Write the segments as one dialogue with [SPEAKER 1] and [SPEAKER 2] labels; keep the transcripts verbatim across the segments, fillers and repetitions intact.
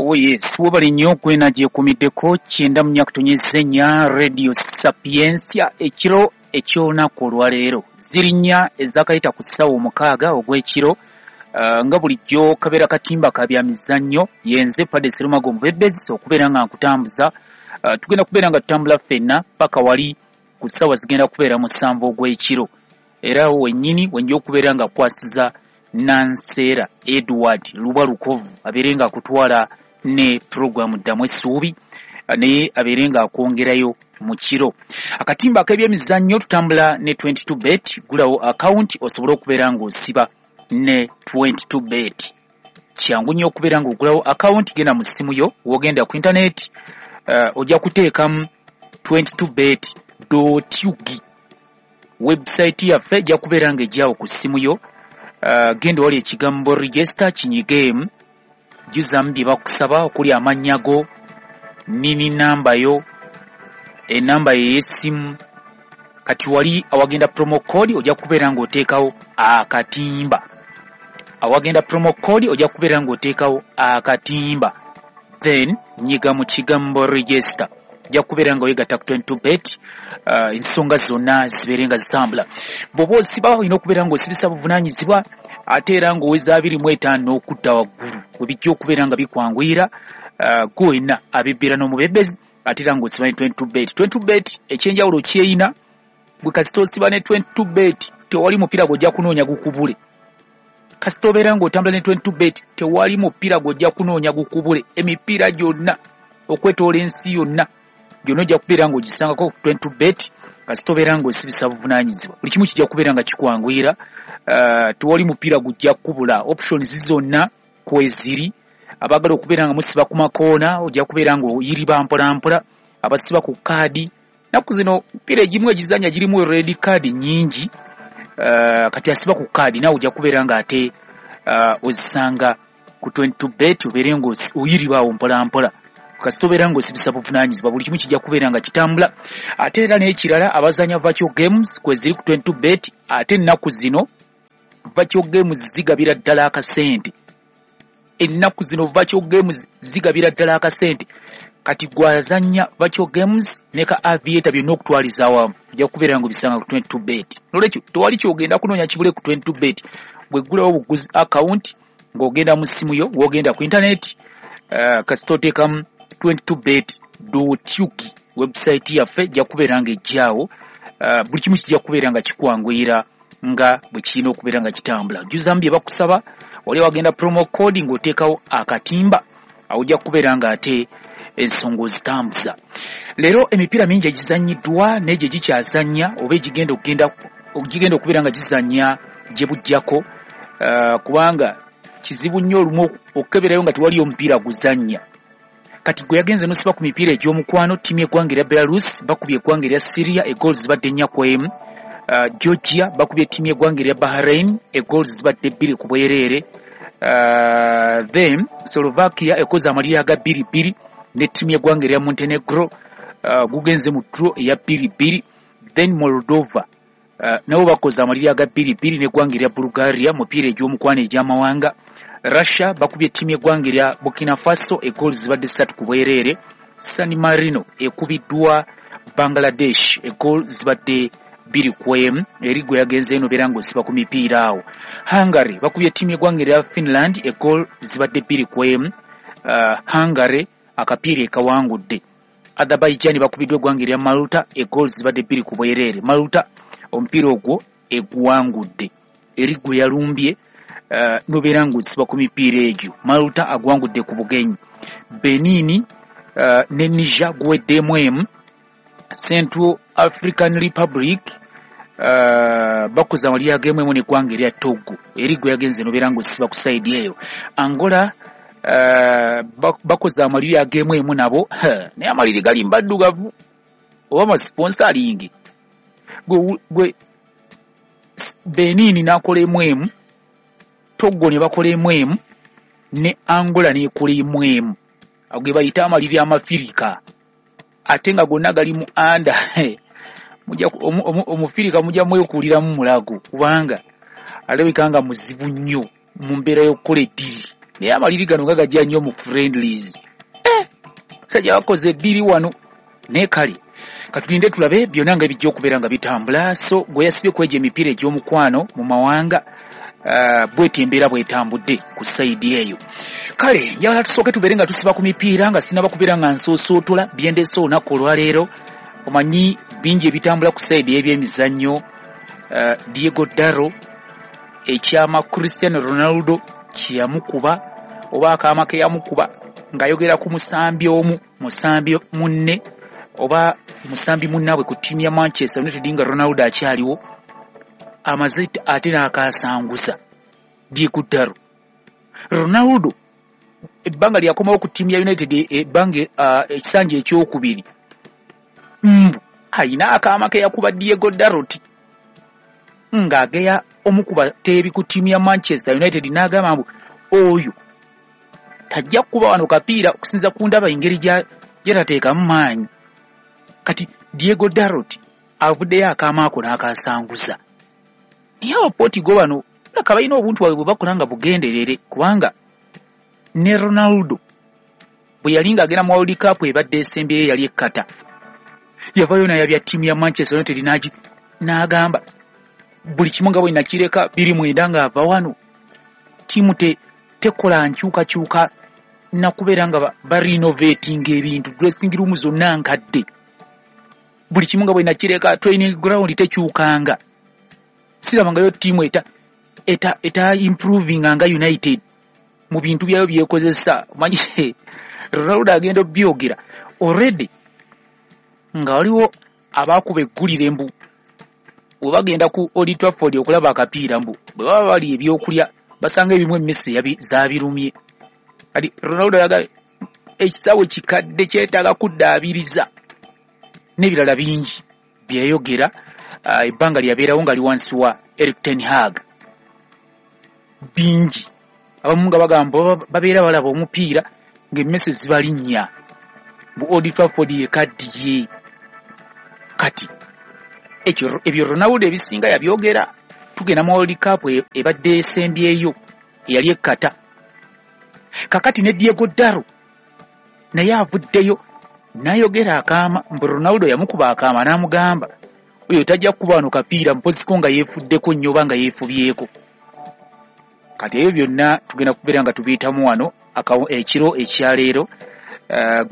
[SPEAKER 1] Oh yes, webale nnyo kwena gyekumiddeko kyenda mu nnya nnya Radio Sapientia ekiro eky'olunaku olwaleero ziri nnya ezakayita ku ssaawa omukaaga ogw'ekiro. Uh, nga bulijjo kabeera katimba ka bya mizannyo, yenze Padre Serumago Mubebezi okubeera nga nkutambuza. Uh, tugenda kubeera nga tutambula ffenna paka wali ku ssaawa zigenda kubeera musanvu ogw'ekiro, era wennyini wenja okubeera nga kwasiza Nanseera Edward Lubwa Lukovu abeere nga akutwala ne puroguramu Ddamu Essuubi, naye abeere nga akwongerayo mu kiro. Akatimba ak'ebyemizannyo tutambula ne twenty-two bet, gulawo akawunti osobole okubeera ng'osiba ne twenty-two bet. Kyangu nnyo okubeera ng'ogulawo akawunti, genda mu ssimu yo, w'ogenda ku intaneti, uh, ojja kuteekamu twenty-two bet dot U G. Website yaffe ejja kubeera ng'ejjawo ku ssimu yo. Uh, genda wali ekigambo register kinyigeemu, jjuzamu bye bakusaba okuli amannya go, nini namba yo, enamba yo ey'essimu. Kati wali awagenda promo code ojja kubeera ng'oteekawo akatimba. Awagenda promo code ojja kubeera ng'oteekawo akatimba, then nyiga mu kigambo register, ojja kubeera nga weegatta ku twenty-two bet, uh, ensonga zonna zibeere nga zitambula. Bw'oba osiba olina okubeera ng'osibisa buvunaanyizibwa, ate era ng'oweza abiri mu etaano n'okudda waggulu, we bijja okubeera nga bikwanguyira uh, gwe wenna abebbera n'omubebezi, ate era ng'osiba ne twenty-two bet. twenty-two bet ekyenjawulo kyeyina, bwe kasita osiba ne twenty-two bet tewali mupiira gw'ojja kunoonya gukubule. Kasita obeera ng'otambula ne twenty-two bet tewali mupiira gw'ojja kunoonya gukubule. Emipiira gyonna okwetoola ensi yonna gyonna ojja kubeera ng'ogisangako ku twenty-two bet. Kasita obeera ng'osibisa buvunaanyizibwa, buli kimu kijja kubeera nga kikwanguyira. Uh, tewali mupiira gujja kukubula, options zonna kweziri. Abaagala okubeera nga musiba ku makoona ojja kubeera ng'oyiriba mpolampola, abasiba ku kaadi. Nnaku zino emipiira egimu egizannya girimu red card nnyingi. Uh, kati asiba ku kaadi naawe ojja kubeera ng'ate uh, ozisanga ku twenty-two bet, obeere ng'oyiribaawo mpolampola. Kasita obeera ng'osibisa buvunaanyizibwa, buli kimu kijja kubeera nga kitambula. Ate era n'ekirala, abazannya virtual games kweziri ku twenty-two bet, ate ennaku zino virtual games zigabira ddala akasente. Ennaku zino virtual games zigabira ddala akasente. Kati gwazannya virtual games ne ka aviator byonna okutwaliza awamu ojja kubeera ng'obisanga ku twenty-two bet. Noolwekyo tewali ky'ogenda kunoonya kibule ku twenty-two bet. Bw'eggulawo obuguzi akawunti ng'ogenda mu ssimu yo, w'ogenda ku intaneti, uh, kasita oteekamu twenty-two bet dot U G, website yaffe ejja kubeera ng'ejjaawo. Uh, buli kimu kijja kubeera nga kikwanguyira nga bwe kirina okubeera nga kitambula. Jjuzamu bye bakusaba, wali wagenda promo code ng'oteekawo akatimba, awo ojja kubeera ng'ate ensonga ozitambuza. Leero emipiira mingi egizannyiddwa n'egyo egikyazannya oba egigenda okugenda egigenda okubeera nga gizannya gye bujjako, uh, kubanga kizibu nnyo olumu okukeberayo nga tewaliyo omupiira guzannya. Kati gwe yagenze n'osiba ku mipiira egy'omukwano, ttiimu y'eggwanga erya Belarus bakubye eggwanga erya Syria egoals zibadde nnya ku emu. Uh, Georgia bakubye ttiimu y'eggwanga erya Bahrain egoals zibadde bbiri ku bwereere. Uh, then Slovakia ekoze amaliri aga bbiri bbiri ne ttiimu y'eggwanga erya Montenegro, uh, gugenze mu draw eya bbiri bbiri. Then Moldova uh, nabo bakoze amaliri aga bbiri bbiri n'eggwanga erya Bulgaria mupiira egy'omukwano egy'amawanga. Russia bakubye ttiimu y'eggwanga erya Burkina Faso egoals zibadde ssatu ku bwereere. San Marino ekubiddwa Bangladesh egoals zibadde bbiri ku emu, eri gwe yagenze eno beera ng'osiba ku mipiira awo. Hungary bakubye ttiimu y'eggwanga erya Finland egoal zibadde bbiri ku emu. Uh, Hungary akapiira ekawangudde. Azerbaijan bakubiddwa eggwanga erya Malta egoal zibadde bbiri ku bwereere. Malta omupiira ogwo eguwangudde, eri gwe yalumbye, uh, nobeera ng'osiba ku mipiira egyo. Malta agwangudde ku bugenyi. Benin uh, ne Niger guweddemu emu. Central African Republic uh, bakoze amaliri ag'emu emu n'eggwanga erya Togo, eri gwe yagenze nobeera ng'osiba ku sayidi eyo. Angola uh, bakoze amaliri ag'emu emu nabo, naye amaliri gali mbaddugavu oba masponsalingi. Gwe, gwe Benin n'akola emu emu, Togo ne bakola emu emu, ne Angola n'ekola emu emu. Ago ge bayita amaliri amafirika, ate nga gonna gali mu anda. Omufirika mujja mwekuuliramu mulago, kubanga alabika nga muzibu nnyo mu mbeera y'okukola eddiri. Naye amaliri gano nga gajja nnyo mu friendlies. Eh, sajja bakoze bbiri wano. Naye kale katulinde tulabe byonna nga bijja okubeera nga bitambula. So gwe yasibye kwegya emipiira egy'omukwano mu mawanga, uh, bweti embeera bwetambudde ku sayidi eyo. Kale njagala tusooke tubeere nga tusiba ku mipiira nga sinaba kubeera nga nsoosootola byendeese olunaku olwaleero. Omanyi bingi ebitambula ku sayidi y'ebyemizannyo. uh, Diego Dalot ekyama Cristiano Ronaldo kyeyamukuba oba akaama ke yamukuba ng'ayogera ku musambi omu musambi munne oba musambi munnaabwe ku ttiimu ya Manchester United nga Ronaldo akyaliwo, amaze ate n'akasanguza Diego Dalot. Ronaldo ebbanga lyakomawo ku ttiimu ya United ebbanga ekisanja ekyokubiri, mbu ayina akaama ke yakuba Diego Dalot ng'ageya omukuba teebi ku ttiimu ya Manchester United, n'agamba mbu oyo tajja kukuba wano kapiira okusinza ku ndaba engeri gy'atateekamu maanyi. Kati Diego Dalot avuddeyo akaama ako n'akasanguza. Naye abapotigo bano laka balina obuntu bwabwe bwe bakola nga bugenderere, kubanga ne Ronaldo bwe yali ng'agenda mu World Cup ebadde esembyeyo yali e Qatar, yavaayo n'ayabya ttiimu ya Manchester United n'agi n'agamba buli kimu nga bwe nakireka biri mwenda ng'ava wano, ttiimu te tekola nkyukakyuka nakubeera nga barenovatinga ebintu, dressing room zonna nkadde, buli kimu nga bwe nakireka, training ground tekyukanga, sirabangayo ttiimu eta eta eta improving nga United mu bintu byayo byekozesa. Omanyi Ronaldo agenda obyogera already nga waliwo abaakuba eggulire mbu bwe bagenda ku Old Trafford okulaba akapiira, mbu bwe baba bali ebyokulya basanga ebimu emmese zaabirumye. Kati Ronaldo yagambye ekisaawe kikadde kyetaaga kuddaabiriza n'ebirala bingi byeyayogera ebbanga lyabeerawo nga li wansi wa Erik ten Hag. Bingi abamu nga bagamba babeera balaba omupiira ng'emmese zibalinnya mbu Old Trafford yekaddiye. Kati ekyo ebyo Ronaldo ebisinga yabyogera tugenda mu World Cup ebadde esembyeyo eyali e Qatar. Kakati ne Diego Dalot naye avuddeyo n'ayogera akaama mbu Ronaldo yamukuba akaama n'amugamba oyo tajja kukuba wano kapiira mpoziko nga yeefuddeko nnyo oba nga yeefubyeko. Kati ebyo byonna tugenda kubeera nga tubiyitamu wano ekiro ekyaleero.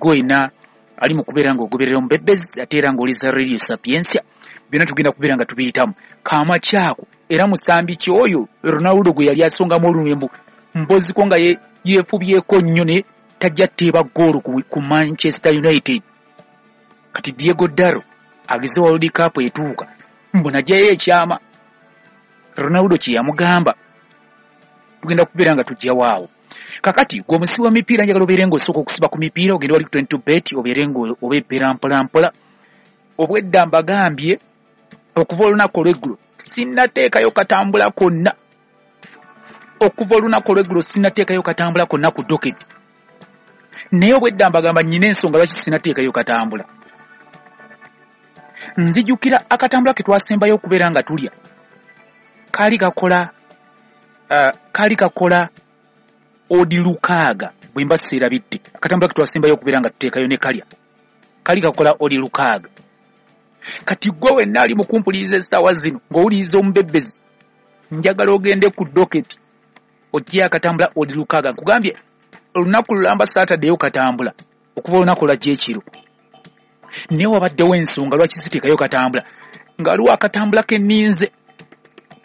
[SPEAKER 1] Gwena ali mu kubeera ng'ogoberera omubebezi ate era ng'oliza Radio Sapientia, byonna tugenda kubeera nga tubiyitamu. Kaama kyako era musambi ki oyo Ronaldo gwe yali asongamu olunwe mbu mpoziko nga yeefubyeko nnyo ne tajja teeba ggoolo ku Manchester United. Kati Diego Dalot ageze World Cup etuuka mbu najjayo ekyama Ronaldo kye yamugamba. Tugenda kubeera nga tujja waawo. Kakati gwe omusibi wa mipiira njagala obeere ng'osooka okusiba ku mipiira, ogende wali ku twenty-two bet obeere ng'obeera mpola mpola. Obwedda mbagambye okuva olunaku olw'eggulo sinnateekayo katambula konna, okuva olunaku olw'eggulo sinnateekayo katambula konna ku docket. Naye obwedda mbagamba nnyina ensonga lwaki sinnateekayo katambula. Nzijukira akatambula ke twasembayo okubeera nga tulya kaali kakola uh, kaali kakola odi lukaaga bwe mba seerabidde. Akatambula ke twasembayo okubeera nga tuteekayo ne kalya kaali kakola odi lukaaga. Kati gwe wenna ali mu kumpuliriza essaawa zino ng'owuliriza omubebbezi, njagala ogende ku docket ojje akatambula odi lukaaga. Nkugambye olunaku lulamba Saturday katambula okuva olunaku lwajja ekiro, naye wabaddewo ensonga lwaki siteekayo katambula, nga waliwo akatambula ke nninze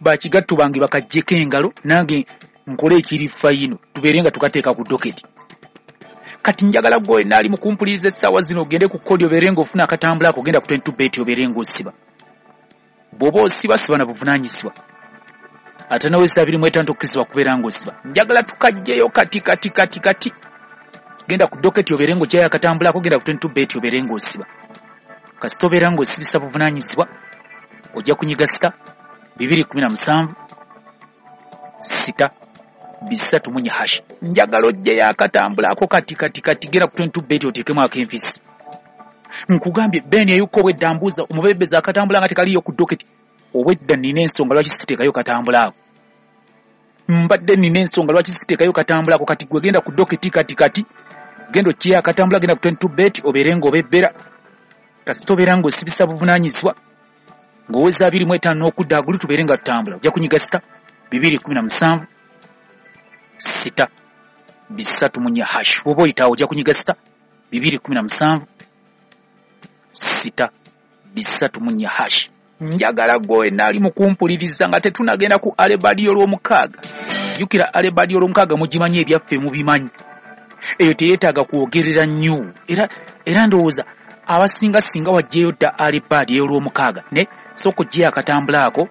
[SPEAKER 1] bakigattu bange bakaggyeko engalo nange nkole ekiri fayino tubeere nga tukateeka ku docket. Kati njagala gwe wenna ali mu kumpuliriza essaawa zino ogende ku kodi obeere ng'ofuna akatambula ako, ogenda ku twenty-two bet obeere ng'osiba. Bw'oba osiba siba na buvunaanyizibwa ate nawe abiri mu etaano tokkirizibwa kubeera ng'osiba. Njagala tukajjeyo kati kati kati kati. Genda ku docket obeere ng'oggyayo akatambula ako, genda ku twenty-two bet obeere ng'osiba. Kasita obeera ng'osibisa buvunaanyizibwa ojja kunyiga sita bibiri kumi na musanvu sita bisatu munye hash. Njagala ojjeyo akatambula ako kati kati kati, genda ku twenty-two bet oteekemu ak'enfisi. Nkugambye Ben eyuko obwedda mbuuza omubebezi akatambula nga tekaliyo ku docket. Obwedda nnina ensonga lwaki siteekayo katambula ako. Mbadde nina ensonga lwaki siteekayo katambulako. Kati gwe genda ku doketi kati kati genda okkiyo akatambula, genda ku twenty two bet obeere ng'obebbera. Kasita obeera ng'osibisa buvunaanyizibwa ng'oweza abiri mu etaano n'okudda agulu, tubeere nga tutambula. Ojja kunyiga sita bibiri kumi na musanvu sita bisatu mu nnya hash. Oba oyitaawo ojja kunyiga sita bibiri kumi na musanvu sita bisatu mu nnya hash. Njagala gwe wenna ali mu kumpuliriza nga tetunagenda ku alebadi olw'omukaaga. Jjukira alebadi olw'omukaaga mugimanyi, ebyaffe mubimanyi, eyo teyeetaaga kwogerera nnyo. Era era ndowooza abasinga singa wajjeyo dda alebadi ey'olwomukaaga ne sooka oggyeyo akatambula ako.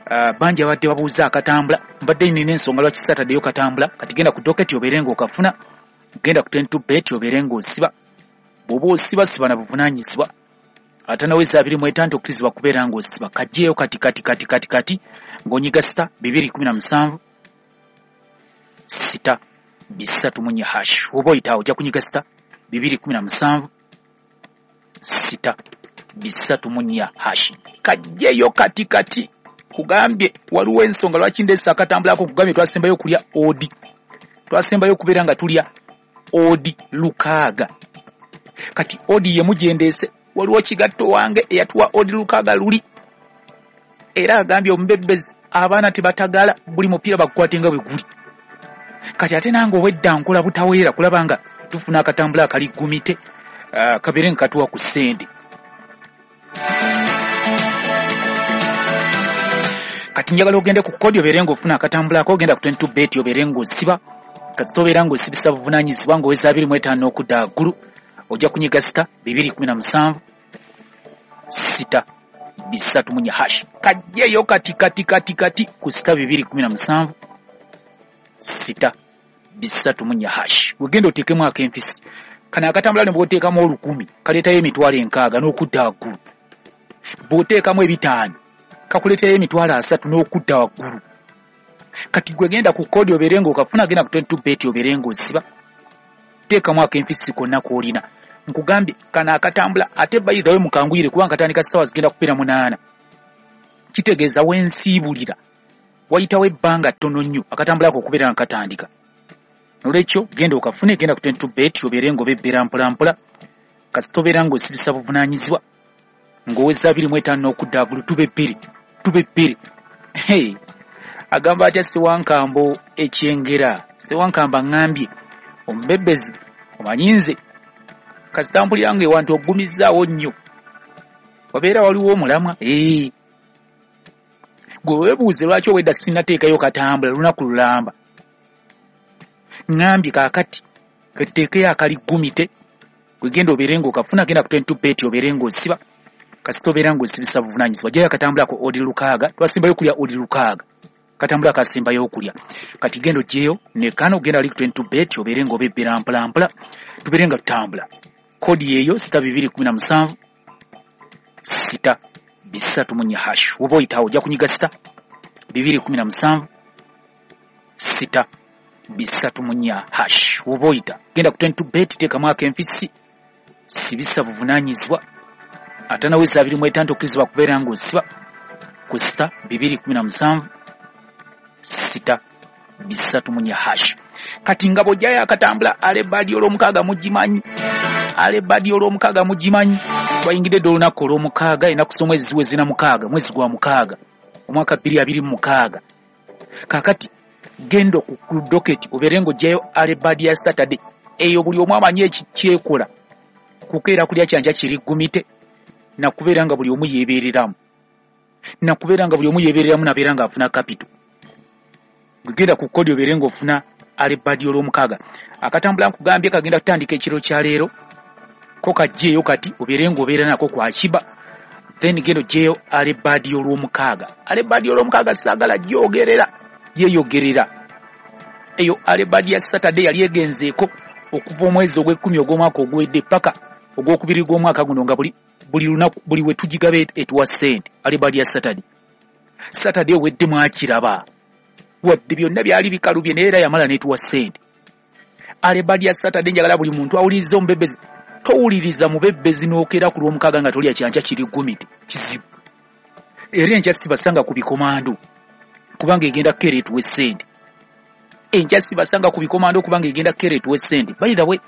[SPEAKER 1] Uh, bangi abadde babuuza akatambula, mbadde nina ensonga lwaki saataddeyo katambula. Kati genda ku doketi obeere ng'okafuna, genda ku twenty two bet obeere ng'osiba. Bw'oba osiba siba na buvunaanyizibwa, ate naweza abiri mu etaano tokkirizibwa kubeera ng'osiba. Kajjeeyo kati kati kati kati kati ng'onyiga sita bibiri kumi na musanvu sita bisatu mu nnya hash. Oba oyitaawo ojja kunyiga sita bibiri kumi na musanvu sita bisatu mu nnya hash. Kajjeeyo kati kati, kugambye waliwo ensonga lwaki ndeese akatambulako. Kugambye twasembayo okulya odi, twasembayo okubeera nga tulya odi lukaaga. Kati odi ye mugyendeese. Waliwo kigatto wange eyatuwa odi lukaaga luli, era agambye omubebbezi abaana tebatagala, buli mupiira bagukwate nga bwe guli. Kati ate nange obwedda nkola butaweera kulaba nga tufuna akatambula akali gumite, uh, kabeere nga katuwa ku ssente. Kati njagala ogende ku kodi obeere ng'ofuna akatambulako, ogenda ku twenty two bet obeere ng'osiba. Kati tobeera ng'osibisa buvunaanyizibwa ng'oweza abiri mu etaano n'okudda waggulu, ojja kunyiga sita bibiri kumi na musanvu sita bisatu mu nnya hash. Kajjeeyo kati kati kati kati ku sita bibiri kumi na musanvu sita bisatu mu nnya hash. Wegenda oteekemu ak'empisi kano akatambula, ne bw'oteekamu olukumi kaleetayo emitwalo enkaaga n'okudda waggulu. Bw'oteekamu ebitaano kakuleeterayo emitwalo asatu n'okudda waggulu. Kati gwe genda ku kodi obeere ng'okafuna, genda ku twenty two bet obeere ng'osiba, teekamu ak'empisi konna k'olina. Nkugambye kano akatambula, ate bayithawe mukanguyire kubanga katandika ssaawa zigenda kubeera munaana. Kitegeeza wensiibulira wayitawo ebbanga ttono nnyo akatambula ako okubeera nga katandika. Nolwekyo genda okafune, genda ku twenty two bet obeere ng'obebbera mpolampola. Kasita obeera ng'osibisa buvunaanyizibwa ng'oweza abiri mu etaano n'okudda waggulu, tube bbiri tube bbiri. Hey, agamba atya Ssewankambo ekyengera? Ssewankambo aŋŋambye omubebbezi omanyi nze kasita mpulira nga ewantu oggumizzaawo nnyo, wabeera waliwo omulamwa. Ee, gwe weebuuze lwaki obwedda sinnateekayo katambula lunaku lulamba. Ŋŋambye kaakati ketuteekeyo akali gumite, gwe genda obeere ng'okafuna, genda ku twenty two bet obeere ng'osiba. Kasita obeera ng'osibisa buvunaanyizibwa, ggyayo akatambulako odi lukaaga. Twasembayo okulya odi lukaaga, katambula akasembayo okulya. Kati genda oggyeyo ne kano, genda ali ku twenty two bet obeere ng'obebbera mpolampola, tubeere nga tutambula. Kodi yeeyo sita bibiri kumi na musanvu sita bisatu mu nnya hash. Oba oyitaawo ojja kunyiga sita bibiri kumi na musanvu sita bisatu mu nnya hash. Oba oyita genda ku twenty two bet, teekamu ak'empisi, sibisa buvunaanyizibwa, ate naweza abiri mu etaano tokkirizibwa kubeera ng'osiba ku sita bibiri kumi na musanvu sita bisatu mu nnya hash. Kati nga bw'ojjayo akatambula alebadi olw'omukaaga mugimanyi, alebadi olw'omukaaga mugimanyi. Twayingidde dda olunaku olw'omukaaga, ennaku z'omwezi ziweze na mukaaga, mwezi gwa mukaaga omwaka bbiri abiri mu mukaaga. Kaakati genda ku doketi obeere ng'oggyayo alebadi ya Saturday. Eyo buli omu amanyi ekikyekola, kukeera kulya kyankya kiri gumite, nakubeera nga buli omu yeebeereramu, nakubeera nga buli omu yeebeereramu nabeera ng'afuna kapito. Genda ku kodi obeere ng'ofuna alebadi olw'omukaaga. Akatambula nkugambye kagenda kutandika ekiro kya leero, ko kajjeeyo kati obeere ng'obeera nako kwa kiba. Then genda oggyeyo alebadi olw'omukaaga. Alebadi olw'omukaaga saagala gyogerera, yeeyogerera. Eyo alebadi ya Saturday yali egenzeeko okuva omwezi ogw'ekkumi ogw'omwaka oguwedde paka ogw'okubiri gw'omwaka guno, nga buli buli lunaku buli we tugigaba etuwa ssente. Alebadi ya Saturday, Saturday ewedde mwakiraba, wadde byonna byali bikalubye naye era yamala n'etuwa ssente. Alebadi ya Saturday njagala buli muntu awulirize omubebbezi. Towuliriza mubebbezi n'okeera ku lw'omukaaga nga tolya kyankya kiri gumite, kizibu. Era enkya sibasanga ku bikomando kubanga egenda kukeera etuwe ssente. Enkya sibasanga ku bikomando kubanga egenda kukeera etuwe ssente. By the way,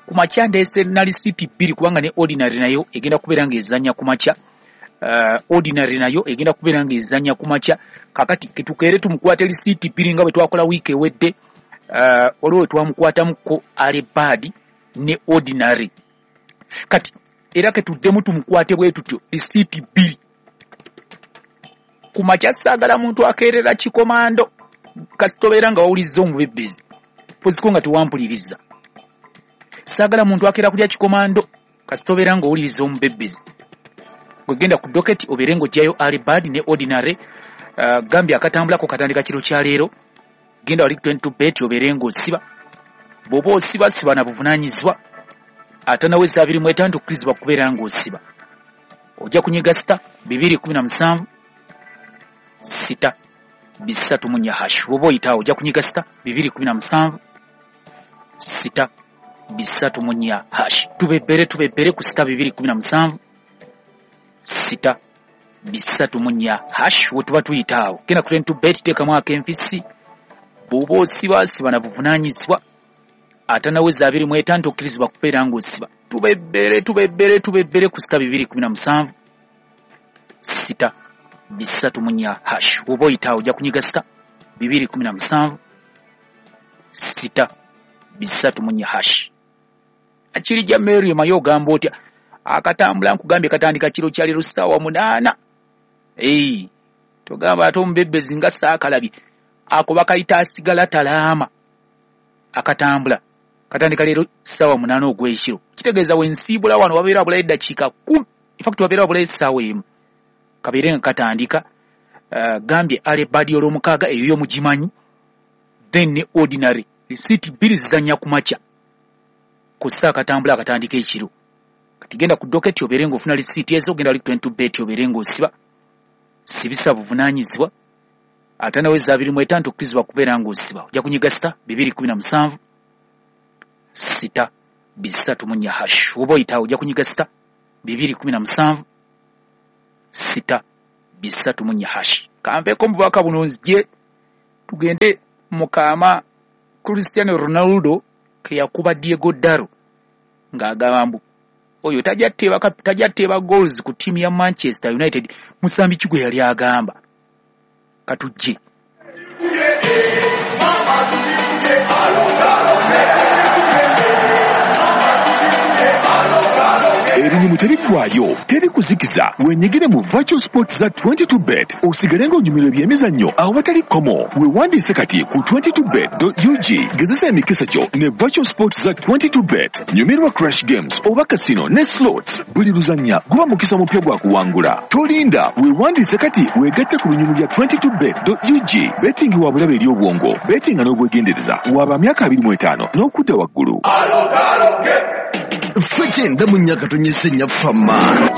[SPEAKER 1] ku makya ndeese na lisiiti bbiri kubanga ne ordinary nayo egenda kubeera ng'ezannya ku makya. Uh, ordinary nayo egenda kubeera ng'ezannya ku makya. Kakati ketukeere tumukwate lisiiti bbiri nga bwe twakola wiiki ewedde. Uh, waliwo we twamukwatamuko early bird ne ordinary. Kati era ketuddemu tumukwate bwe tutyo lisiiti bbiri ku makya. Saagala muntu akeerera kikomando kasita obeera nga wawulizza omubebbezi poziko nga tewampuliriza. Saagala muntu akeera kulya kikomando kasita obeera nga owuliriza omubebbezi. Gwegenda ku docket obeere ng'oggyayo early bird ne ordinary. Uh, gambye akatambulako katandika kiro kya leero. Genda wali twenty-two bet obeere ng'osiba. Bw'oba osiba siba na buvunaanyizibwa. Atanaweza abiri mu etaano tokkirizibwa kubeera ng'osiba. Ojja kunyiga sita bibiri kumi na musanvu sita bisatu mu nnya hash. Bw'oba oyitaawo ojja kunyiga sita bibiri kumi na musanvu sita bisatu mu nnya hash. Tubebbere tubebbere ku sita bibiri kumi na musanvu sita bisatu mu nnya hash we tuba tuyitaawo. Genda ku twenty-two bet teekamu ak'enfisi. Bw'oba osiba siba na buvunaanyizibwa. Atanaweza abiri mu etaano tokkirizibwa kubeera ng'osiba. Tubebbere tubebbere tubebbere ku sita bibiri kumi na musanvu sita bisatu mu nnya hash. Bw'oba oyitaawo ojja kunyiga sita bibiri kumi na musanvu sita bisatu mu nnya hash. Akirijja Mary Mayo ogamba otya? Akatambula nkugambye katandika kiro kya leero ssaawa munaana. Ee, togamba ate omubebbezi nga saakalabye. Ako bakayita asigala talaama. Akatambula katandika leero ssaawa munaana ogw'ekiro. Kitegeeza wensiibula wano wabeera wabulayo eddakiika kkumi. In fact wabeera wabulayo essaawa emu. Kabeere nga katandika. Uh, gambye early bird olw'omukaaga eyo yo mugimanyi. Then ne ordinary risiiti bbiri zizannya ku makya. Ku ssaawa akatambula akatandika ekiro. Kati genda ku docket obeere ng'ofuna risiiti ezo, genda wali twenty-two bet obeere ng'osiba. Sibisa buvunaanyizibwa. Atanaweza abiri mu etaano tokkirizibwa kubeera ng'osiba. Ojja kunyiga sita bibiri kumi na musanvu sita bisatu mu nnya hash. Bw'oba oyitaawo ojja kunyiga sita bibiri kumi na musanvu sita bisatu mu nnya hash. Kanveeko mu bubaka buno nzije tugende mu kaama Cristiano Ronaldo ke yakuba Diego Dalot ng'agamba mbu oyo tajja teeba tajja teeba goals ku ttiimu ya Manchester United. Musambi ki gwe yali agamba? Katujje.
[SPEAKER 2] Ebinyumu tebiggwayo, teri kuzikiza. Wenyigire mu virtual sports za twenty-two bet osigale ng'onyumirwa ebyemizannyo awatali kkomo. Weewandiise kati ku twenty-two bet dot U G. Gezesa emikisa gyo ne virtual sports za twenty-two bet. Nyumirwa crash games oba casino ne slots. Buli luzannya guba mukisa mupya gwa kuwangula. Tolinda, weewandiise kati weegatte ku binyumu bya twenty-two bet dot U G. Betting wa bulabe eri obwongo, bettinga n'obwegendereza. Waba myaka abiri mu etaano n'okudda waggulu.
[SPEAKER 3] Ffe kyenda mu nnya katonyese nnyaffe amaalo.